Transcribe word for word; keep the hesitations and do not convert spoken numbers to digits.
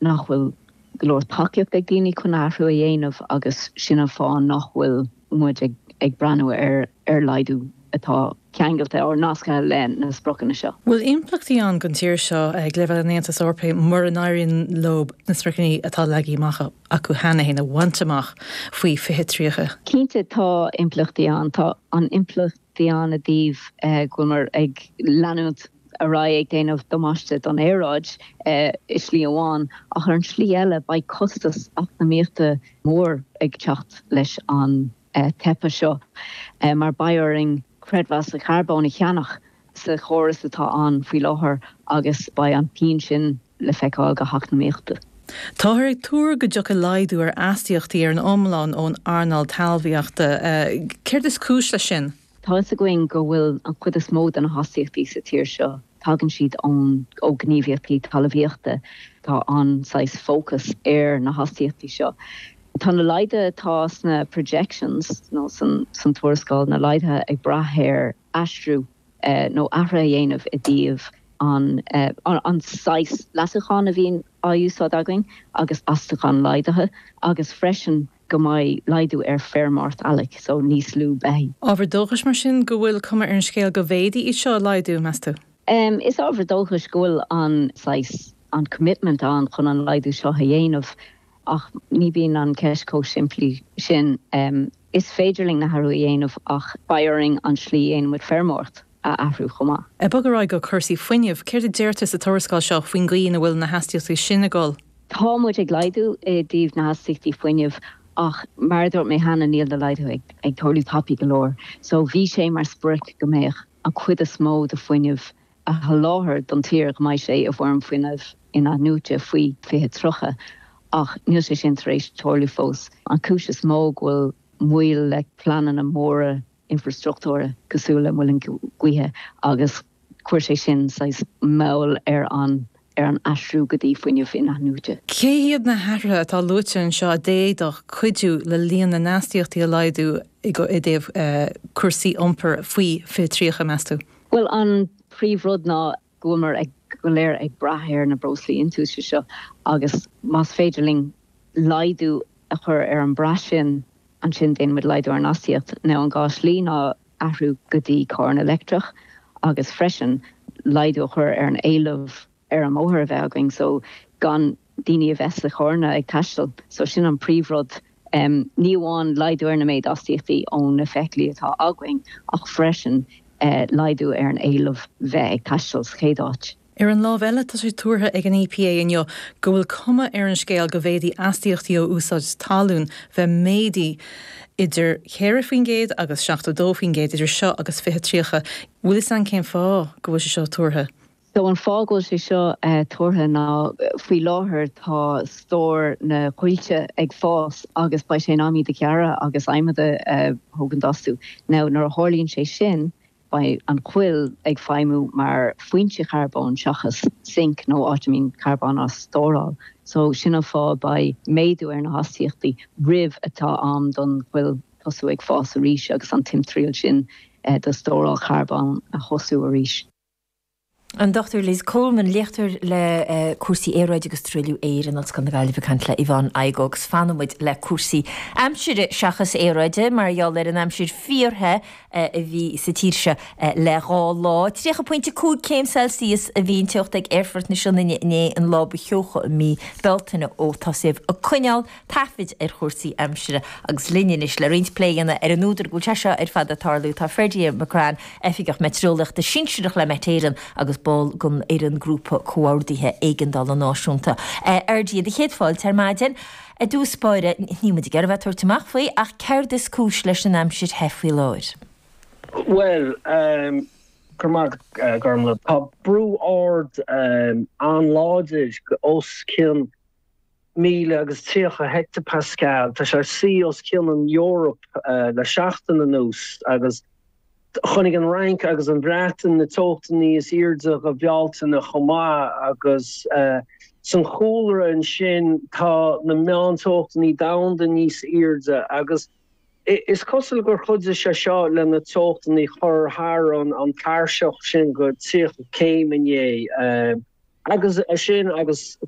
nach bhfuil go leor tacaíocht ag daoine chun athrú a dhéanamh agus sin an fáth nach bhfuil muid ag, ag breathnú ar ar laghdú atá ceangailte or nasctha le na spriocanna seo. Bhfuil impleachtaí ann don tír seo ag leibhéal an Aontais Eorpaigh mura n-éiríonn leo na spriocanna atá leagtha amach acu cheana féin a bhaint amach faoi fiche tríocha. Cinnte tá impleachtaí ann tá an impleachtaí ann i dtaobh eh, go bhfuil ag leanúint ar aghaidh ag déanamh damáiste don aeráid eh, i slí amháin ach ar an slí eile beidh costas eacnamaíochta mór ag teacht leis an eh, teipe seo eh, mar beidh orainn creidmheas carbóin a cheannach sa chóras atá ann faoi láthair agus beidh an pian sin le feiceáil go heacnamaíochta. Táthar ag tuar go dtiocfaidh laghdú ar astaíochtaí ar an iomlán ón earnáil talmhaíochta. Céard is cúis leis sin? Tá a fhios againn go bhfuil an chuid is mó de na hastaíochtaí sa tír seo tagann siad ón ó gníomhaíochtaí talmhaíochta tá an saghas fócas ar na hastaíochtaí seo. Tá na laghduithe atá sna projections nó san, san tuarascáil na laghduithe ag brath ar aistriú eh, nó athrú a dhéanamh i dtaobh an, eh, an, an saghas leasúcháin a bhíonn á úsáid againn agus astúchán laghdaithe agus freisin go mbeidh laghdú ar feirmeoireacht eallaigh, so níos lú beithígh. Ábhar dóchais mar sin go bhfuil cuma ar an scéal go bhféadfaí iad seo a laghdú meas tú? Um, is ábhar dóchais go bhfuil an saghas an commitment ann chun an laghdú seo a dhéanamh ach ní bhíonn an ceist chomh simplí sin um, is féidir linn na hathruithe a dhéanamh ach beidh orainn an slí a ndéanaimid feirmeoireacht a athrú chomh maith. Ag bogadh ar aghaidh go cúrsaí fuinnimh, céard a deirtear sa tuarascáil seo faoin gcaoi ina bhfuil na hastaíochtaí sin ag dul. Tá muid ag laghdú i dtaobh na hastaíochtaí fuinnimh ach mar dúirt mé cheana níl na laghdú ag, ag tarlú tapaidh go leor. So bhí sé mar sprioc go mbeadh an chuid is mó de fuinneamh a sholáthar don tír go mbeidh sé i bhfoirm fuinneamh in-athnuaite faoi fiche tríocha ach níl sé sin tar éis tarlú fós. An chúis is mó go bhfuil moill le pleananna móra infrastruchtúra cosúil le muileann gaoithe agus chuir sé sin saghas moill ar an ar an aistriú go dtí fuinneamh in-athnuaite. Cé hiad na hathruithe atá luaite anseo a d'fhéadfadh cuidiú le líon na n-astaíochtaí a laghdú i dtaobh uh, cúrsaí iompair faoi fiche tríocha meas tú? Well an príomhrud ná go bhfuil ag go léir ag brath ar na breoslaí iontaise seo agus más féidir linn laghdú a chur ar an brath sin ansin déanaimid laghdú ar an astaíocht ná an dhá shlí ná athrú go dtí carr leictreach agus freisin laghdú a chur ar an éileamh ar an mbóthar a bheith againn so gan daoine a bheith sa charranna ag taisteal so sin an príomhrud um, ní amháin laghdú ar na méid astaíochtaí ón na feithiclí atá againn ach freisin uh, laghdú ar an éileamh bheith ag taisteal sa chéad áit. Ar an lámh eile tá sé tuartha ag an EPA inniu go bhfuil cuma ar an scéal go bhféadfaidh astaíochtaí ó úsáid talún bheith méadaithe idir ceithre faoin gcéad agus seachtó dó faoin gcéad idir seo agus fiche tríocha. Bhfuil fhios againn cén fáth go bhfuil sé seo tuartha. So an fáth go bhfuil sé seo uh, tuartha ná faoi láthair tá stór na coillte ag fás agus beidh sé in am iad a ghearradh agus adhmad a uh, thógaint astu. Now nuair a tharlaíonn sé sin, beidh an choill ag feidhmiú mar foinse charbóin seachas sink nó áit a mbíonn carbón á stóráil. So sin an fáth beidh méadú ar na hastaíochtaí roimh atá am don choill tosú ag fás arís agus an timthriall sin eh, do stóráil charbón a thosú arís. An Dr Liz Coleman léachtóir le uh, cúrsaí aeráide agus truailliú aeir in Ollscoil na Gaillimhe ag caint le Yvonne Igoe agus fanfaimid le cúrsaí aimsire seachas aeráide mar gheall ar an aimsir fíorthe uh, a bhí sa tír seo uh, le dhá lá. Tríocha pointe cúig céim Celsius a bhí an teocht ag Aerfort na Sionainne inné an lá ba theocha i mí Bealtaine ó tosaíodh ag coinneáil taifid ar chúrsaí aimsire agus linn anois le roinnt plé a dhéanamh ar an údar go bhfuil sé seo ar fad ag tarlú tá Ferdia McCrann oifigeach meitéareolaíochta sinsearach le Met Éireann agus ball den fhoireann grúpa comhordaithe éigeandála náisiúnta. Ferdia do chéad fáilte ar maidin, i dtús báire ní muid ag bheith tuairt amach faoi ach céard is cúis leis an aimsir the faoi láthair. Well um, uh, Gormla tá brú ard um, an-láidir os cionn míle agus tríocha hectopascal Tá sé sí os cionn an Eoraip uh, le seachtain anuas agus chonaic an Fhrainc agus an Bhreatain na teochtaí is airde go Bealtaine chomh maith agus uh, san chúlra ansin tá na meánteochtaí domhanda níos airde agus is cosúil gur chuidigh sé seo le na teochtaí a chur thar an an tairseach sin go tríocha céim inné. Uh, agus sin agus